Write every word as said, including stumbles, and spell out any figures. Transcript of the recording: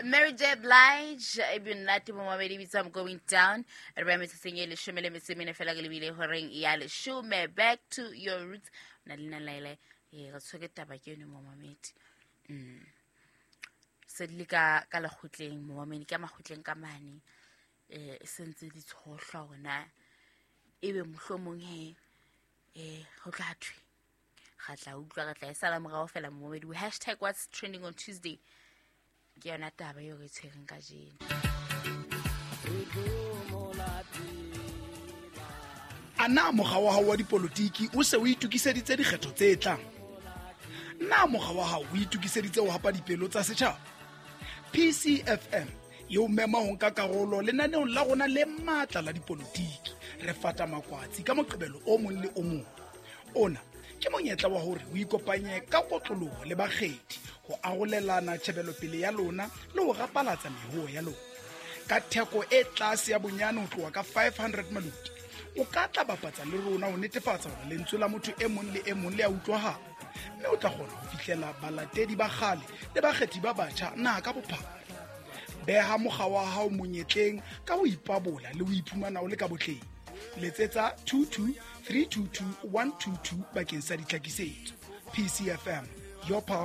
Mary J Blige e be nnate momamedi bitsa I'm going down. Re ba metsotsong e leshome le metso e mene fela ke lebile horeng ya leshome. Back to your roots. Na le nna Laila, eh re tshwere taba ke yone momamedi. Mm. Se di le ka ka lekgotleng momamedi, ka makgotleng ka mane, eh e sentse di tshohlwa hore na ebe mohlomong he eh ho tla thwe ga tla utlwa, re tla e sala morao fela momamedi. Hashtag what's trending on Tuesday ke yona taba eo re e tshwereng kajeno. A na mokga wa hao wa dipolotiki o se o itokiseditse dikgetho tse tlang? Na mokga wa hao o itokiseditse ho hapa dipelo tsa setjhaba? P C F M e o mema ho nka karolo lenaneong la rona le matla la dipolotiki. Re fata makwatsi ka Moqebelo o mong le o mong. Ona ke monyetla wa hore o ikopanye ka kotloloho le bakgethi ho arolelana tjhebelopele ya lona le ho rapalatsa mehoo ya lona. Ka theko e tlase ya bonyane ho tloha ka five hundred maluti, o ka tla bapatsa le rona ho netefatsa hore lentswe la motho e mong le e mong le a utlwahala, mme o tla kgona ho fihlela balatedi ba kgale le bakgethi ba batjha naha ka bophara. Beha mokga wa hao monyetleng ka ho ipabola le ho iphumana o le ka botleng. Letsetsa two two three two two one two two bakeng sa ditlhakisetso. P C F M, your pulse.